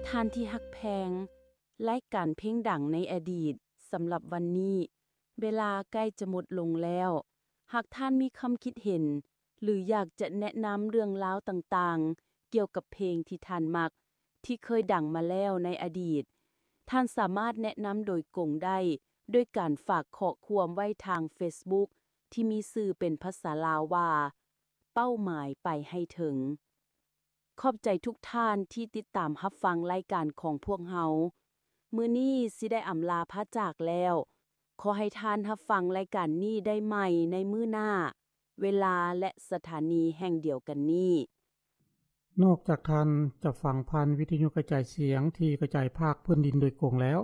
ທ່ານທີ່ຮັກແພງ, ລາຍການເພງດັງໃນອະດີດສຳລັບວັນນີ້ ເວລາໃກ້ຈະໝົດລົງແລ້ວ. ຫາກທ່ານມີຄຳຄິດເຫັນ ຫຼື ຢາກຈະແນະນຳເລື່ອງລາວຕ່າງໆ ກ່ຽວກັບເພງທີ່ທ່ານມັກ ທີ່ເຄີຍດັງມາແລ້ວໃນອະດີດ, ທ່ານສາມາດແນະນຳໂດຍກົງໄດ້ ດ້ວຍການຝາກຂໍ້ຄວາມໄວ້ທາງເຟສບຸກ ທີ່ມີຊື່ເປັນພາສາລາວວ່າ ເປົ້າໝາຍໄປໃຫ້ເຖິງ. ຂອບໃຈທຸກທ່ານທີ່ຕິດຕາມຮັບຟັງລາຍການຂອງພວກເຮົາ. ມື້ນີ້ຊິໄດ້ອຳລາພາຈາກແລ້ວ. ຂໍໃຫ້ທ່ານຮັບຟັງລາຍການນີ້ໄດ້ໃໝ່ໃນມື້ໜ້າ, ເວລາ ແລະ ສະຖານີແຫ່ງດຽວກັນນີ້. ນອກຈາກທ່ານຈະຟັງຜ່ານວິທະຍຸກະຈາຍສຽງທີ່ກະຈາຍພາກພື້ນດິນໂດຍກົງແລ້ວ,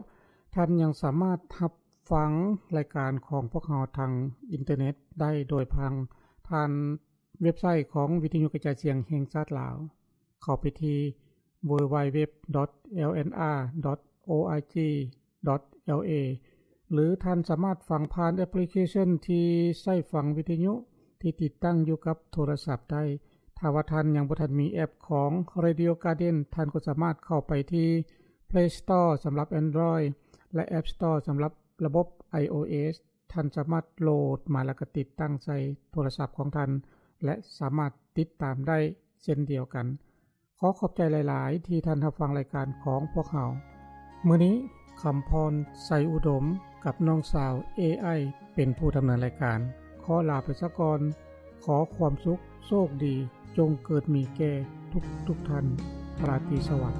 ທ່ານຍັງສາມາດຮັບຟັງລາຍການຂອງພວກເຮົາທາງອິນເຕີເນັດໄດ້ໂດຍຜ່ານ ຜ່ານເວັບໄຊຂອງວິທະຍຸກະຈາຍສຽງແຫ່ງຊາດລາວ. ເຂົ້າໄປທີ່ www.lnr.org.la ຫຼື ທ່ານສາມາດຟັງຜ່ານແອັບພລິເຄຊັນທີ່ໃຊ້ຟັງວິທະຍຸທີ່ຕິດຕັ້ງຢູ່ກັບໂທລະສັບໄດ້. ຖ້າວ່າທ່ານຍັງບໍ່ທັນມີແອັບຂອງ Radio Garden, ທ່ານກໍສາມາດເຂົ້າໄປທີ່ Play Store ສຳລັບ Android ແລະ App Store ສຳລັບລະບົບ iOS. ທ່ານສາມາດໂຫຼດມາແລ້ວກໍຕິດຕັ້ງໃສ່ໂທລະສັບຂອງທ່ານ ແລະ ສາມາດຕິດຕາມໄດ້ເຊັ່ນດຽວກັນ. ຂໍຂອບໃຈຫຼາຍໆ ທີ່ທ່ານຮັບຟັງລາຍການຂອງພວກເຮົາ. ມື້ນີ້ ຄຳພອນ ໄຊອຸດົມ ກັບນ້ອງສາວ ເອໄອ ເປັນຜູ້ດຳເນີນລາຍການ. ຂໍລາໄປຊະກ່ອນ. ຂໍຄວາມສຸກ, ໂຊກດີ, ຈົ່ງເກີດມີແກ່ທຸກໆທ່ານ. ລາຕີສະຫວັດ.